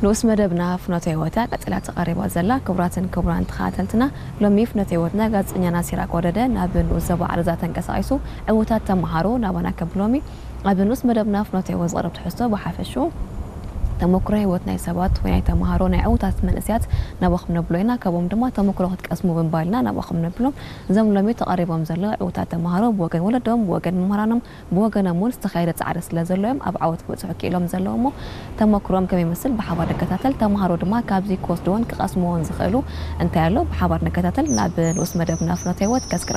ንኡስ መደብና ፍኖተ ህይወት እያ ቀጺላ ተቐሪባ ዘላ። ክቡራትን ክቡራን ተኸታተልትና፣ ሎሚ ፍኖተ ህይወትና ጋዜጠኛና ሲራክ ወረደ ናብ ንኡስ ዞባ ዓረዛ ተንቀሳቒሱ ዕዉታት ተመሃሮ ናባና ከብሎም እዩ። ኣብ ንኡስ መደብና ፍኖተ ህይወት ዝቐርብ ትሕዝቶ ብሓፈሽኡ ተመክሮ ህይወት ናይ ሰባት ወይ ናይ ተመሃሮ ናይ ዕዉታት መንእሰያት ናባኹም ነብሎ ኢና። ካብኦም ድማ ተመክሮ ክትቀስሙ ብምባል ኢና ናባኹም ነብሎም። እዞም ሎሚ ተቐሪቦም ዘለዉ ዕዉታት ተመሃሮ ብወገን ወለዶም፣ ብወገን መምህራኖም፣ ብወገኖም እውን ዝተኻየደ ጻዕሪ ስለ ዘሎ እዮም ኣብ ዓወት ክበጽሑ ክኢሎም ዘለዉ እሞ ተመክሮም ከመይ ይመስል ብሓባር ንከታተል። ተመሃሮ ድማ ካብዚ ክወስድዎን ክቐስምዎን ዝኽእሉ እንታይ ኣሎ ብሓባር ንከታተል። ናብ ንኡስ መደብና ፍኖተ ህይወት ከስግራ